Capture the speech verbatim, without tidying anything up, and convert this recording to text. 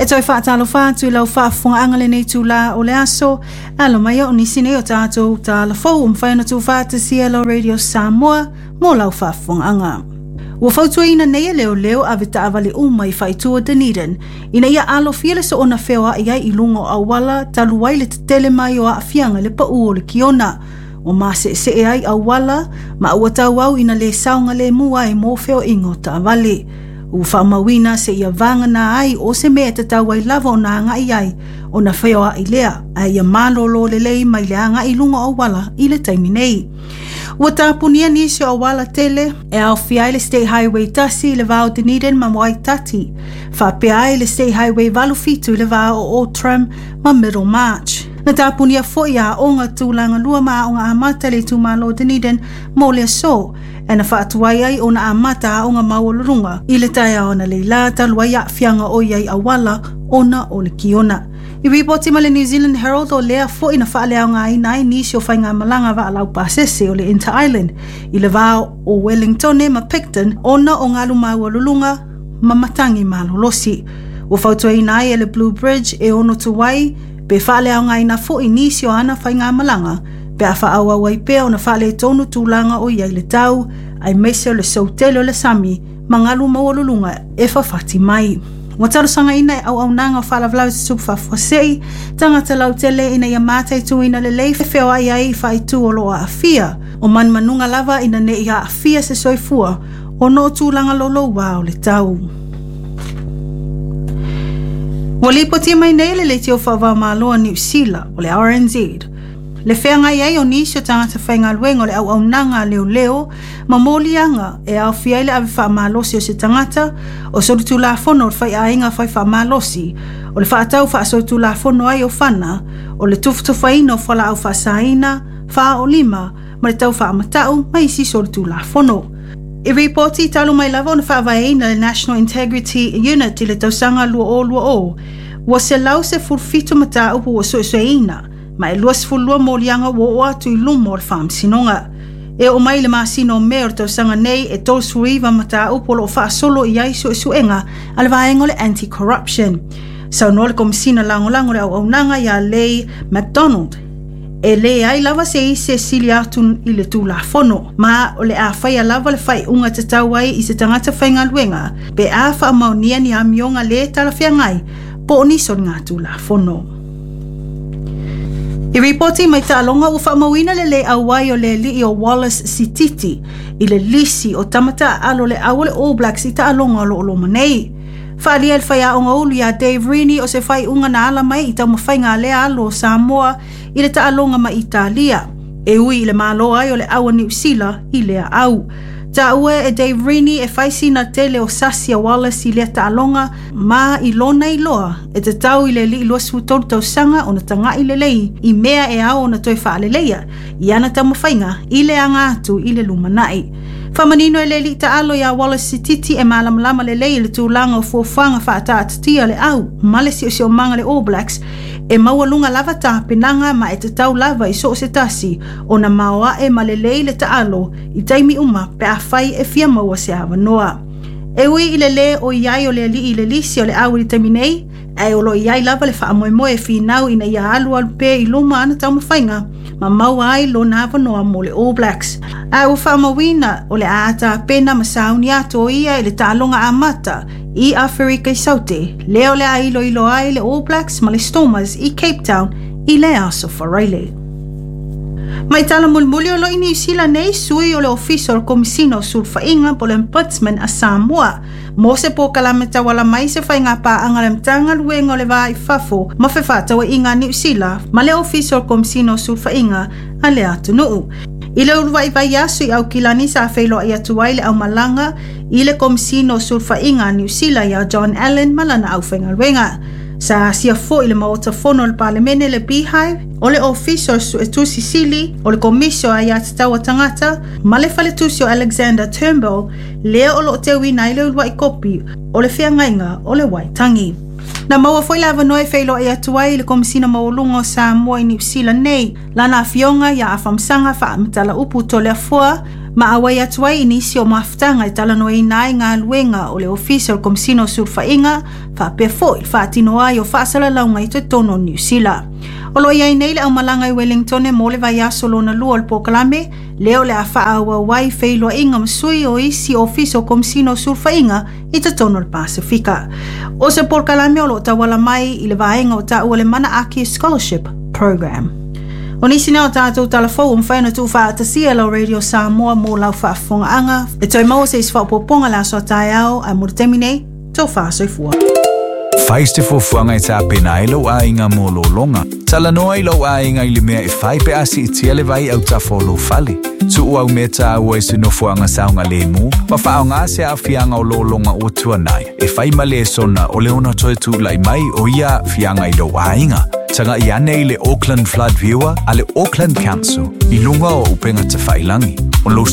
E toe faatalofa atu i lau faafofogaaga lenei itulā o le aso, alo mai o nisi nei o tatou talafou ua mafai ona tuufaatasia lau Radio Samoa mo lau faafofogaaga. Ua fautuaina nei e leoleo ave taavale uma i faaitu o Dunedin ina ia alofia le soona feoai ai i luga o auala talu ai le tetele mai o aafiaga i le pau o le kiona. Ua maseesee ai auala ma ua tauau ina le saogalemu ai mo feoaiga o taavale. Ua faamauina seia vagana ai o se mea e tatau ai lava ona agai ai ona feoai lea, ae ia malolo lelei mai le agai i luga o auala i le taimi nei. Ua tapunia nisi o auala tele e aofia ai le State Highway tasi i le va o Dunedin ma Waitati, faapea ai le State Highway valu fitu i le va o Outram ma Middlemarch. Na tapunia foi aoga tulaga lua ma aoga amata i le itumalo Dunedin mo le aso, e na faatuai ai ona amata aoga maualuluga i le taeao analeila talu ai aafiaga o i ai auala ona o le kiona. I ripoti mai le New Zealand Herald o lea foi na faaleaogaina ai nisi o faigamalaga vaalau pasese o le Inter Island i le va o Wellington ma Picton ona o galu maualuluga ma matagi malolosi. Ua fautuaina ai e le Blue Bridge e ono tuai pe faaleaogaina foi nisi o ana faigamalaga pe a faaauau ai pea ona faaletonu tulaga o i ai le tau, aemaise o le soutele o le sami ma galu maualuluga e fafati mai. Ua talosagaina e auaunaga o faalavelave tutupu faafuasei tagata lautele ina ia mataituina lelei feoai ai i faaitu o loo aafia o manumanuga lava ina nei aafia se soifua ona o tulaga loulouā o le tau. Ua lipotia mai nei le leitio faava-o-Malo a Niu Sila o le R N Z le feagai ai o nisi o tagata faigaluega o le auaunaga a leoleo ma moliaga e aofia ai le ave faamalosi o se tagata o solitulafono o le faiaiga fai faamalosi o le faatau faasolitulafono ai o fana o le tufutufaina o fualaau faasaina faaolima ma le tau faamatau ma isi solitulafono. I ripoti talu mai lava ona faavaeina le National Integrity Unit i le tausaga dua o dua o, ua selau sefulu fitu mataupu ua suesueina ma e luasefululua moliaga ua oo atu i luma o le faamasinoga. E oo mai le masina o Me o le tausaga nei, e tolusefuluiva mataupu o loo faasolo i ai suesuega a le vaega o le Anti-Corruption. Saunoa le Komisina Lagolago le Auaunaga ia Lei McDonald e leai lava se isi e sili atu i le tulafono, ma o le a faia lava le faaiuga tatau ai i se tagata faigaluega pe a faamaonia ni amioga le talafeagai po o ni soligatulafono. I ripoti mai taaloga ua faamauina le le auai o le alii o Wallace Sititi i le lisi o tamata alo le au o le All Blacks i taaloga o loo loma nei. Faalia le faiaoga ulu iā Dave Rennie o se faaiuga na ala mai i taumafaiga a lea alo o Samoa i le taaloga ma Italia, e ui i le malo ai o le au a Niu Sila i lea au. Taua e Dave Rennie e fai sina tele o sasi a Wallace i lea taaloga ma i lona iloa e tatau i le alii luasefulu tolu tausaga ona tagai lelei i mea e ao ona toe faaleleia i ana taumafaiga i le aga atu i le lumanai. Faamanino e le alii taalo iā Wallace Sititi e malamalama lelei i le tulaga o fuafuaga faataatitia le au ma le siosiomaga le All Blacks e maualuga lava tapenaga ma e tatau lava i soo se tasi ona maoae ma lelei le taalo i taimi uma pe a fai e fia maua se avanoa. E ui i le lē o i ai o le alii i le lisi o le au i le taimi nei, ae o loo i ai lava le faamoemoe e finau ina ia alualu pea i luma ana taumafaiga ma maua ai lona avanoa mo le All Blacks. A ua faamauina o le a tapena ma sauni atu o ia i le taaloga amata i Aferika i Saute, lea o le a iloilo ai le All Blacks ma le Stormers i Cape Town i le aso Faraile. Mai tala mulimuli o lo i Niu Sila nei sui o le ofisa o le Komisina o Sulufaiga po le Ombudsman a Samoa mo se polokalame tauala mai se faiga paaga le Matagaluega o le Va i Fafo ma Fefaatauaiga a Niu Sila ma le ofisa o le Komisina o Sulufaiga a le atunuu. I le uluai aso i Aukilani sa feiloai atu ai le aumalaga i le Komisina o Sulufaiga a Niu Sila ia John Allen ma lana aufaigaluega. Sa asia foi le Maota Fono o le Palemene le Beehive, o le Ofisa o le Suetusi Sili, o le Komisi o Aiatatau a Tagata, ma le Faletusi o Alexander Turnbull, lea o loo teuina ai le uluai kopi o le feagaiga o le Waitangi. Na maua foi le avanoa e feiloai atu ai le Komisina Maualuga o Samoa i Niu Sila nei, lana afioga ia Afamasaga Faamatala Upu Toleafoa Ma auai atu ai i nisi o mafutaga e talanoaina ai galuega o le Ofisa o le Komesina o Sulufaiga faapea foi le faatino ai o faasalalauga i totonu o Niu Sila. O lo o i ai nei le aumalaga i Wellington mo le vaiaso lona lua o le polokalame, lea o le a faaauau ai feiloaiga ma sui o isi ofisa o Komesina o Sulufaiga i totonu o le Pasefika. O se polokalame o lo o tauala mai i le vaega o taua le Manaaki Scholarship Program. O nisi na o tatou talafou ua mafai ona tuufaatasia lau Radio Samoa mo lau faafofogaaga. E toe maua se isi faaopoopoga le aso a taeao, ae mo le taimi nei, tofa soifua. Fai se fuafuaga e tapena ai lou aiga mo lologa. Talanoa i lou aiga i le mea e fai pe a siitia le vai autafa o lou fale. Tuu au mea taua i se nofoaga saogalemu ma faaaoga se aafiaga o lologa ua tuanai e fai ma lesona o le ono toe tulai mai o ia aafiaga i lou aiga. Tagai ane i le Auckland Flood Viewer a le Auckland Council i luga o upega tafailagi. O lou